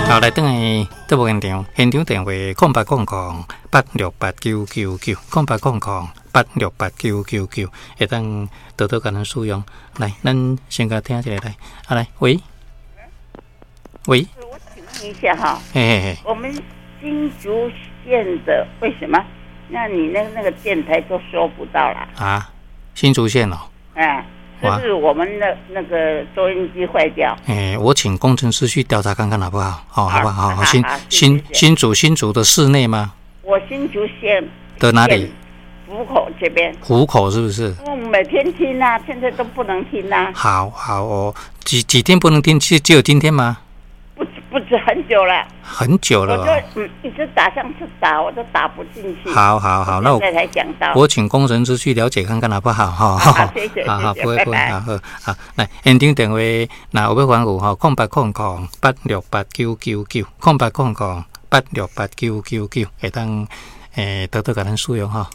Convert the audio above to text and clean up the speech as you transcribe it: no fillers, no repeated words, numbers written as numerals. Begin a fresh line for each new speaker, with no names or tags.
好，來轉來節目現場，現場電話0800868999，0800868999，會當多多共咱使用。來，咱先共聽一下來，啊來，喂，喂，
我請問一下哈，
嘿嘿嘿，
我們新竹縣的為什麼？那你那個電台都收不到啦？
啊，新竹縣哦。
哎，就是我們的那個收音機壞掉。
哎，我請工程師去調查看看好不好？好，好不好？好，新竹的市內嗎？
我新竹縣
的哪裡？
湖口這邊。
湖口是不是？
我每天聽啊，現在都不能聽啊。
好好哦，幾天不能聽？只有今天嗎？
不止很久了。
很久了。
我就一直打，上次打我都打不進去。
好好好，那我
才講到。
我請工程師去了解看看好不好？哈，
好，謝謝，
好好，不會不會，好好好，來現場電話，若有欲反映吼，0800868999，0800868999，會當多多共咱使用吼。